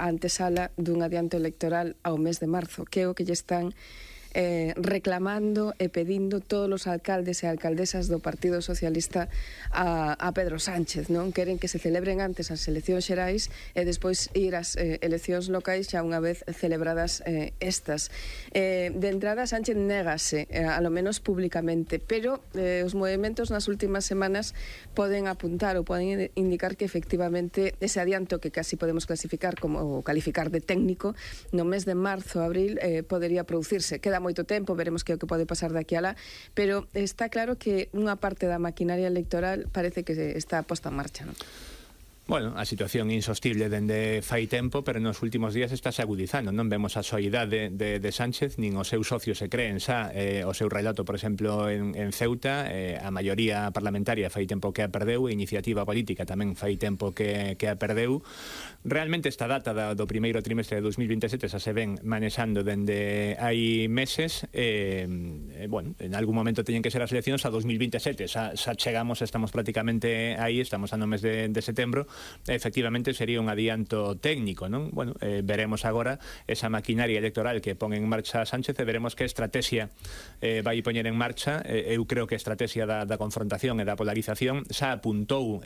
a antesala dun adianto electoral ao mes de marzo, que é o que lle están reclamando e pedindo todos os alcaldes e alcaldesas do Partido Socialista a Pedro Sánchez, non? Queren que se celebren antes as eleccións xerais e despois ir ás eleccións locais xa unha vez celebradas estas. De entrada, Sánchez négase, a lo menos públicamente, pero os movimentos nas últimas semanas poden apuntar ou poden indicar que efectivamente ese adianto que casi podemos clasificar como calificar de técnico no mes de marzo, abril, podería producirse. Queda moito tempo, veremos que é o que pode pasar de aquí a lá, pero está claro que unha parte da maquinaria electoral parece que está posta en marcha, non? Bueno, a situación insostible dende fai tempo, pero nos últimos días estáse agudizando, non vemos a soidade de Sánchez, nin os seus socios se creen xa o seu relato, por exemplo, en Ceuta, a maioría parlamentaria fai tempo que a perdeu, a iniciativa política tamén fai tempo que a perdeu. Realmente esta data do primeiro trimestre de 2027 xa se ven manexando dende hai meses, bueno, en algún momento teñen que ser as eleccións a 2027, xa chegamos, estamos prácticamente aí, estamos no mes de setembro. Efectivamente sería un adianto técnico, non? Bueno, veremos agora esa maquinaria electoral que pon en marcha Sánchez e veremos que estrategia vai poñer en marcha. Eu creo que a estrategia da confrontación e da polarización xa apuntou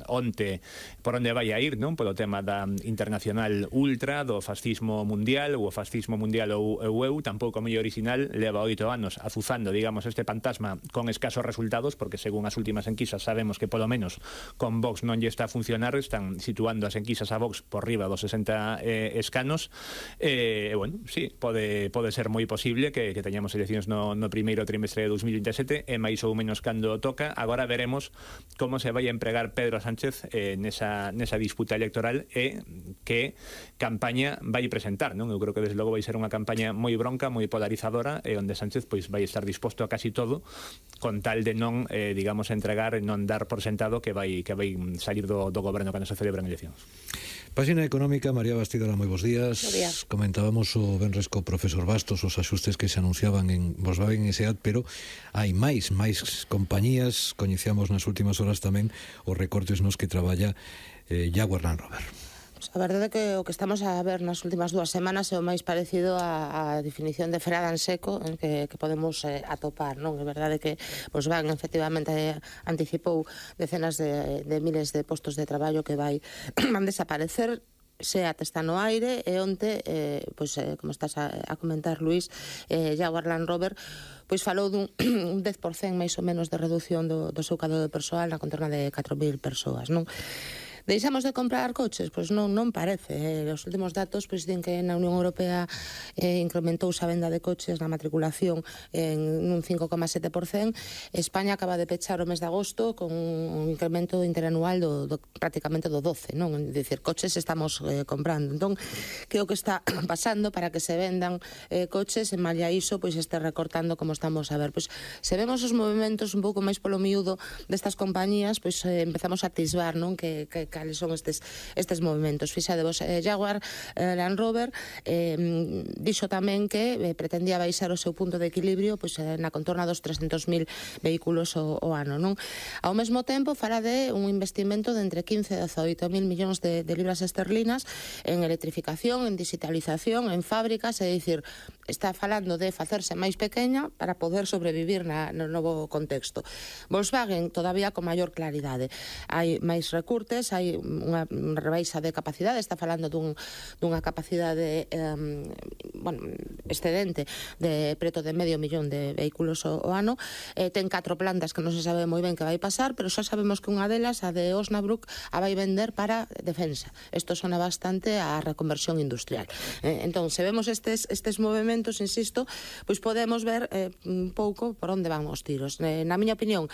onte por onde vai a ir, non? Polo tema da internacional ultra, do fascismo mundial, ou o fascismo mundial ou eu, tampouco moi original, leva 8 anos azuzando, digamos, este fantasma con escasos resultados, porque según as últimas enquisas sabemos que polo menos con Vox non lle está funcionar, están situando as enquisas a Vox por riba dos 60 escanos. Bueno, sí, pode ser moi posible que teñamos eleccións no primeiro trimestre de 2027 e máis ou menos cando toca. Agora veremos como se vai a empregar Pedro Sánchez nesa disputa electoral e que campaña vai presentar, non? Eu creo que desde logo vai ser unha campaña moi bronca, moi polarizadora, e onde Sánchez pois vai estar disposto a casi todo con tal de non, digamos, entregar e non dar por sentado que vai salir do goberno cando se celebran eleccións. Páxina económica, María Bastidora, moi bons días. Comentábamos o venres co profesor Bastos os axustes que se anunciaban en Volkswagen e SEAT, pero hai máis compañías. Coñecíamos nas últimas horas tamén os recortes nos que traballa Jaguar Land Rover. A verdade é que o que estamos a ver nas últimas 2 semanas é o máis parecido á definición de freada en seco en que podemos atopar, non? É verdade que Volkswagen efectivamente anticipou decenas de miles de postos de traballo que van desaparecer. SEAT está no aire e onte, como estás a comentar, Luís, Jaguar Land Rover pois falou dun 10% máis ou menos de reducción do seu cadro de persoal na contorna de 4.000 persoas, non? Deixamos de comprar coches? Pois non parece. Os últimos datos pois din que na Unión Europea incrementouse a venda de coches na matriculación en un 5,7%. España acaba de pechar o mes de agosto con un incremento interanual prácticamente do 12%, non? É dicir, coches estamos comprando. Entón, que é o que está pasando para que se vendan coches, en malia iso, pois este recortando como estamos a ver. Pois se vemos os movimentos un pouco máis polo miúdo destas compañías, pois empezamos a atisbar, non? Que cales son estes movimentos. Fixadevos, Jaguar Land Rover dixo tamén que pretendía baixar o seu punto de equilibrio pois na contorna dos 300.000 vehículos o ano, non? Ao mesmo tempo fala de un investimento de entre 15 e 18.000 millóns de libras esterlinas en electrificación, en digitalización, en fábricas, é dicir, está falando de facerse máis pequeña para poder sobrevivir no novo contexto. Volkswagen todavía con maior claridade. Hai máis recurtes, hai unha rebaixa de capacidade, está falando dunha capacidade excedente de preto de 500.000 de vehículos o ano. Ten 4 plantas que non se sabe moi ben que vai pasar, pero xa sabemos que unha delas, a de Osnabrück, a vai vender para defensa. Isto sona bastante a reconversión industrial. Entón, se vemos estes movimentos, insisto, pois podemos ver un pouco por onde van os tiros. Na miña opinión,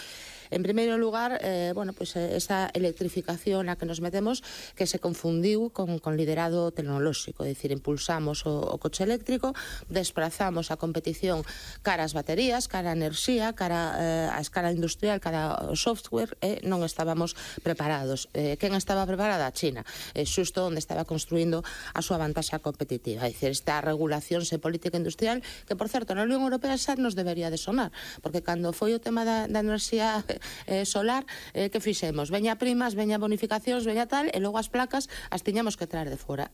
en primeiro lugar, esa electrificación na que nos metemos, que se confundiu con liderado tecnolóxico, é dicir, impulsamos o coche eléctrico, desprazamos a competición cara ás baterías, cara á enerxía, cara á escala industrial, cara ao software, e non estábamos preparados. Quen estaba preparada? A China, xusto onde estaba construindo a súa vantaxa competitiva. É dicir, esta regulación e política industrial, que, por certo, na Unión Europea xa nos debería de sonar, porque cando foi o tema da enerxía solar, que fixemos? Veña primas, veña bonificacións, veña tal, e logo as placas as tiñamos que traer de fora.